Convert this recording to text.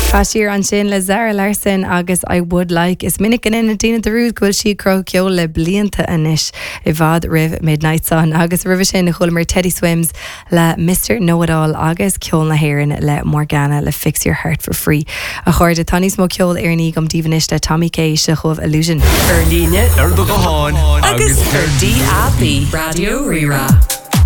Siar ansin le Zara Larsson agus I Would Like. Is minic go ndéanann daoine dearúd go bhfuil sí ag cruthú ceoil le blianta anois, i bhfad roimh Midnight Sun. Agus roimhe sin chualamar Teddy Swims le Mister Know It All agus ceol na hÉireann le Morgana le Fix Your Heart For Free. A chairde, tá níos mó ceoil Éireannaí agam daoibh anois le Tommy K. Seo chugaibh Illusion. Ar líne, ar do ghuthán agus ar DAB. Raidió Rí-Rá.